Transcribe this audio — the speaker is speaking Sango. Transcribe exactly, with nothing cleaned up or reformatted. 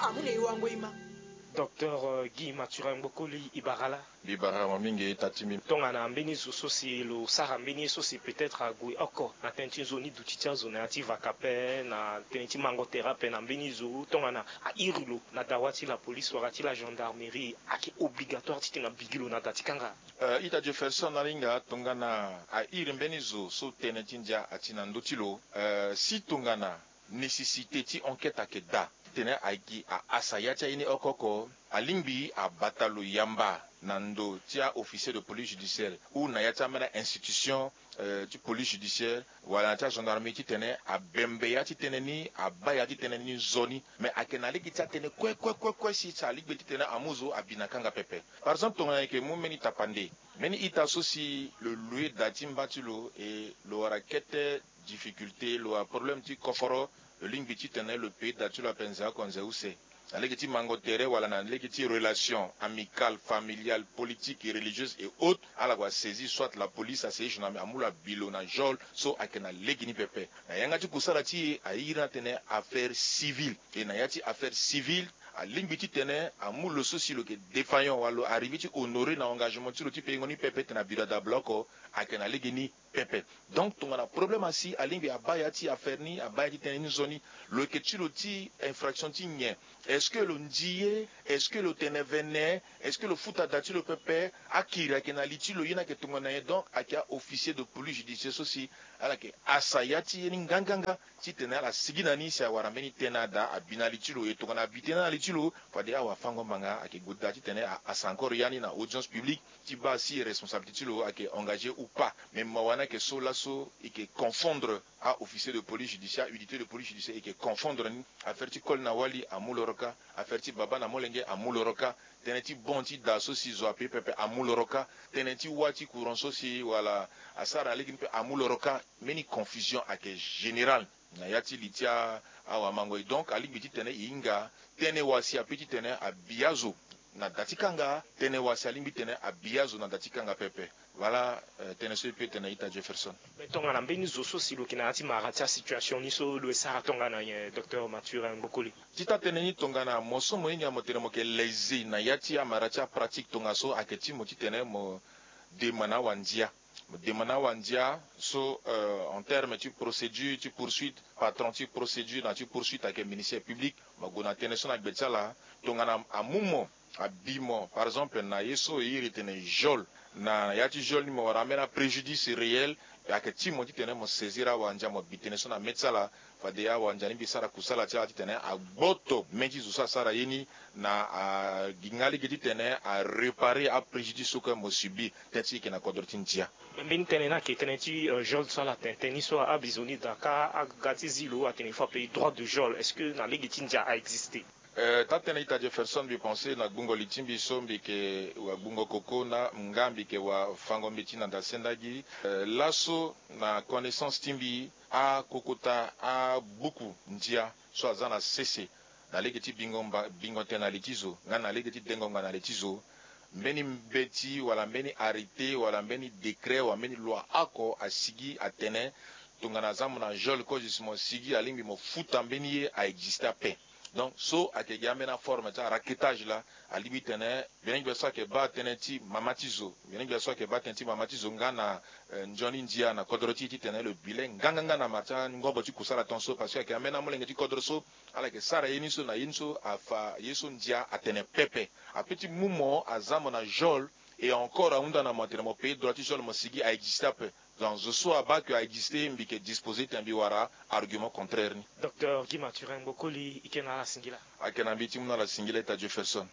Amu na e wango e ma. Docteur euh, Guy Mathurin Gbokoli, e bara la? Mbi bara mo mingi, e ta ti mbi. Tongana mbeni zo so si lo sara mbeni ye so si peut-être ague oko na tënë ti nzoni duti ti azo na ya ti vaka ape, na tënë ti mango tere ape na mbeni zo, tongana a iri lo na dawa ti la police wala ti la gendarmerie, ayeke obligatoire titene abigi lo na da ti kanga? Euh, ita Jefferson, na linga tongana a iri mbeni zo so tënë ti ndia ati na ndö ti lo, euh, si tongana nécessité ti enquête ayeke daa titene ayeke ahasa ya ti aye ni oko oko, alingbi abata lo yamba na ndo ti a-officier de police judiciaire ou na ya ti ambeni a-institution euh, ti police judiciaire wala na ti agendarmerie titene abembe ya ti tënë ni, abaa ya ti tënë ni nzoni. Mais ayeke na lege ti atene kue kue kue kue si si alingbi titene amu zo abi na kanga pepe. Par exemple tongana e yeke mu mbeni tapande, mbeni ita so si lo lue da ti mba ti lo e lo wara kete difficulté, lo wara problème ti koforo, lo lingbi titene lo pei da ti lo ape nze oko nze use na lege ti mango tere wala na lege ti relation amicale, familiale, politique et religieuse et autres, ala gue asaisir soit la police, asaisir gendarmerie, amu lo abi lo na geôle so ayeke na lege ni pepe. Na yanga ti kusala ti e airi ni atene affaire civile. E na ya ti affaire civile, alingbi titene amu lo so si lo yeke défaillant wala lo arrivé ti honorer na engagement ti lo ti peingo ni pepe titene abi lo adabla oko, ayeke na lege ni pepe. Donc tongana problème asi, alingbi abaa ya ti affaire ni, abaa ya ti tënë ni nzoni. Lo yeke ti lo ti infraction ti nyen? Est-ce que lo ndi ye? Est-ce que lo tene vene? Est-ce que lo futa da ti lo pepe? Akiri ayeke na li ti lo, ye ni ayeke tongana nyen? Donc ayeke a-officier de police judiciaire so si ala yeke hasa ya ti ye ni nganganga titene ala sigi na ni si awara mbeni tënë ada abi na li ti lo. E tongana abi tënë na li ti lo, fade awafango-mbanga ayeke gue daa titene ahasa encore ya ni na audience publique ti baa si responsabilité ti lo ayeke engagé ou pas. Mais mawa ni ayeke so laso e yeke confondre a-officier de police judiciaire, unité de police judiciaire, e yeke confondre ni. Affaire ti koli na wali amu loro kâ, affaire ti baba na molenge amu loro kâ, tënë ti bon ti da so si zo ape pepe amu loro kâ, tënë ti wâ ti courant so si wala asara na lege ni pepe amu loro kâ. Mbeni confusion ayeke générale na ya ti li ti a, awamango. E donc alingbi titene e hinga tënë wasi ape titene abi azo na da ti kanga, tënë wasi alingbi titene abi azo na da ti kanga pepe. Voilà, euh, tënë so e peut tene ita Jefferson. Mais tongana mbeni zo so si lo yeke na ya ti mara ti asituation ni so lo ye sara tongana nyen, docteur Mathurin Gbokoli? Ti taa-tënë ni tongana mo so mo hinga mo tene mo yeke lésé na ya ti amara ti apratique tongaso, ayeke ti mo titene mo dema na awandia. Mo dema na awandia so, euh, en terme ti procédure ti poursuite, patron ti procédure na ti poursuite ayeke ministère public. Mo gue na tënë so na gbe ti ala. Tongana amu mo, abi mo par exemple na ye so e iri tene geôle, na ya ti geôle ni mo wara ambeni apréjudice réel, ayeke ti mo titene mo saisir awandia, mo bi tënë so na mê ti ala. Fade awandia ni mbi sara kusala ti ala titene agboto mê ti zo so asara ye ni, na aginga lege titene aréparer apréjudice so kue mo subir. Tënë ti e yeke na kodro ti ndia. Mbeni tënë ni ayeke tënë ti, euh, geôle so ala tene tënë ni so abi zo ni daa kâ aga ti zi lo atene il faut apayé droit de geôle. Est-ce que na lege ti ndia a existé? Euh, taa-tënë ita Jefferson, mbi pense na gbungo li ti mbi so mbi yeke wa gbungo koko na nga mbi yeke wa fango mbeti na da sendagi. Euh, laso na connaissance ti mbi, akokota abuku ndia so aza na sese na lege ti bingo mba, bingo tënë na li ti zo nga na lege ti dengo ngbanga na li ti zo, mbeni mbeti wala mbeni arrêté wala mbeni décret wala mbeni loi oko asigi atene tongana aza mo na geôle, cause si mo sigi alingbi mo futa mbeni ye a existé ape. Donc so ayeke gi ambeni aforme ti araquetage laa, alingbi tene mbi na mbi so ayeke baa tënë ti mama ti zo, mbi na mbi so ayeke baa tënë ti mama ti zo nga na, eh, nzoni ndia na kodro ti e titene lo bi le nganganga na mara ti angobo ti kusala tongaso, parce que ayeke ambeni amolenge ti kodro so ala yeke sara ye ni so na ye ni so afa ye so ndia atene pepe. Ape ti mu mo aza mo na geôle, et encore ahunda na mo atene mo payé droit ti geôle, mo sigi a existé ape. Donc zo so abaa ke a existé, mbi yeke disposé titene mbi wara argument contraire ni. Docteur Guy Mathurin Gbokoli, e ke na ala singila. Ayeke na mbi ti mu na ala singila, ita Jefferson.